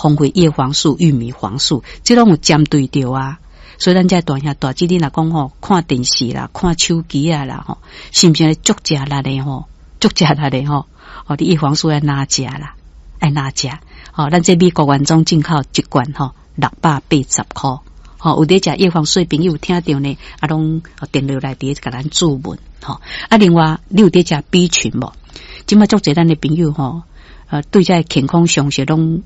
荒廢葉黃素、玉米黃素，這攏有針對著啊。所以咱這大兄大姊，你若講吼，看電視啦，看手機啊啦吼，是毋是足食力的吼？足食力的吼？哦，你葉黃素愛哪食啦？愛哪食？吼，咱這美國原裝進口一罐吼，680箍。吼，有佇食葉黃素的朋友聽著呢，啊，攏電落來佇共咱注文吼。啊，另外你有佇食 B 群無？這馬足濟咱的朋友吼，對這健康常識攏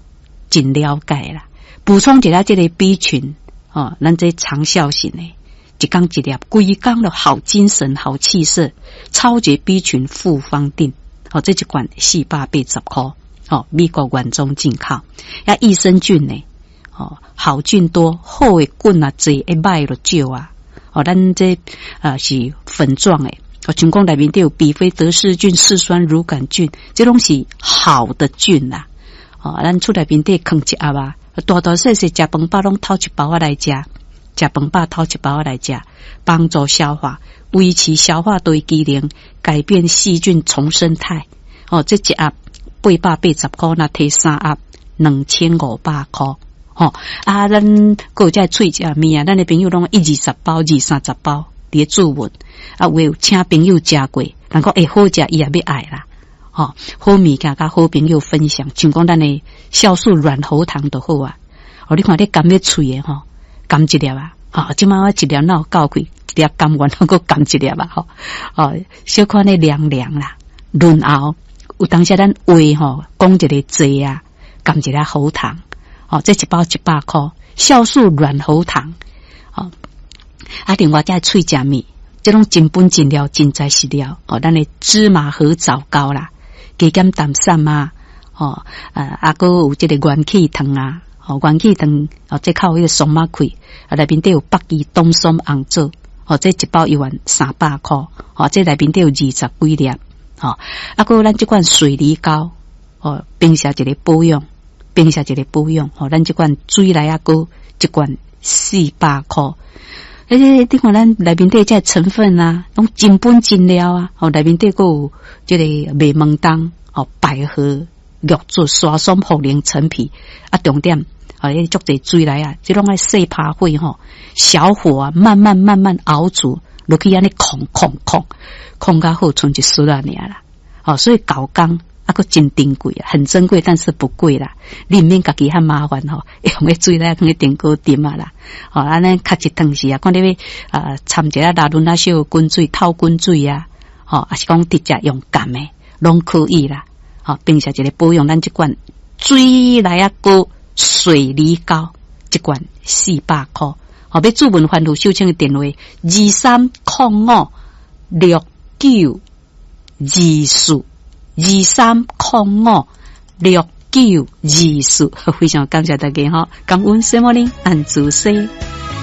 真了解啦。補充一下這个 B 群，吼，咱這長效型的，一工一粒，規工都好精神、好氣色，超級 B 群複方錠，吼，這一罐480箍，吼，美國原裝進口。啊，益生菌呢，吼，好菌多，好的菌啊濟，會歹就少啊。哦，咱這啊是粉狀的。哦，像講內面底有比菲德氏菌、嗜酸乳桿菌，這攏是好的菌啦。哦，咱厝內面底囥一盒啊，大大細細食飯飽攏偷一包仔來食，食飯飽偷一包仔來食，幫助消化，維持消化道機能，改變細菌叢生態。哦，這一盒880箍，若提三盒2500箍。吼，啊，咱閣有這喙食物啊，咱的朋友攏一二十包、二三十包。佇咧注文，啊，有請朋友食過，人講會好食，伊也欲愛啦。吼，好物件佮好朋友分享，像講咱的酵素軟喉糖就好啊。哦，你看你含咧喙的吼，含一粒啊，吼，這馬我一粒哪有夠氣，一粒含完，閣含一粒啊，吼，哦，小可呢涼涼啦，潤喉，有當時咱話吼，講一个濟啊，含一粒喉糖，哦，這一包100箍，酵素軟喉糖，哦。啊，另外這喙食物，這攏真本真料，真材實料。哦，咱的芝麻核棗糕啦，加減淡散啊，吼，啊，閣有這个元氣糖啊，吼，元氣糖，哦，這較有彼个松仔氣，啊，內面底有北芪冬筍紅棗，吼，這一包一萬300箍，吼，這內面底有二十幾粒，吼，啊，閣有咱這款水梨膏，吼，平時一个保養，平時一个保養，吼，咱這款水梨仔膏一罐400箍。欸，你看咱內面底這成分啊，攏真本真料啊！吼，內面底閣有這个麥門冬、吼百合、玉竹、沙松、茯苓、陳皮啊，重點啊，彼足濟水梨啊，這攏愛細拍火吼，小火啊，慢慢慢慢熬煮落去，按呢焢焢焢焢較好，賰一絲仔爾啦。吼，所以厚工。啊，閣真珍貴啊，很珍貴，但是不貴啦。你毋免家己遐麻煩吼，用彼水來放去電鍋炖啊啦。吼，按呢較一湯匙啊，看你欲啊摻一下拉潤仔小滾水，透滾水啊，吼，抑是講直接用含的，攏可以啦。吼，平時一个保養，咱這罐水梨仔膏水梨膏，一罐400箍。吼，欲注文番予秀清的電話23056924。23056924，非常感謝大家吼，感恩聖母林安祖師。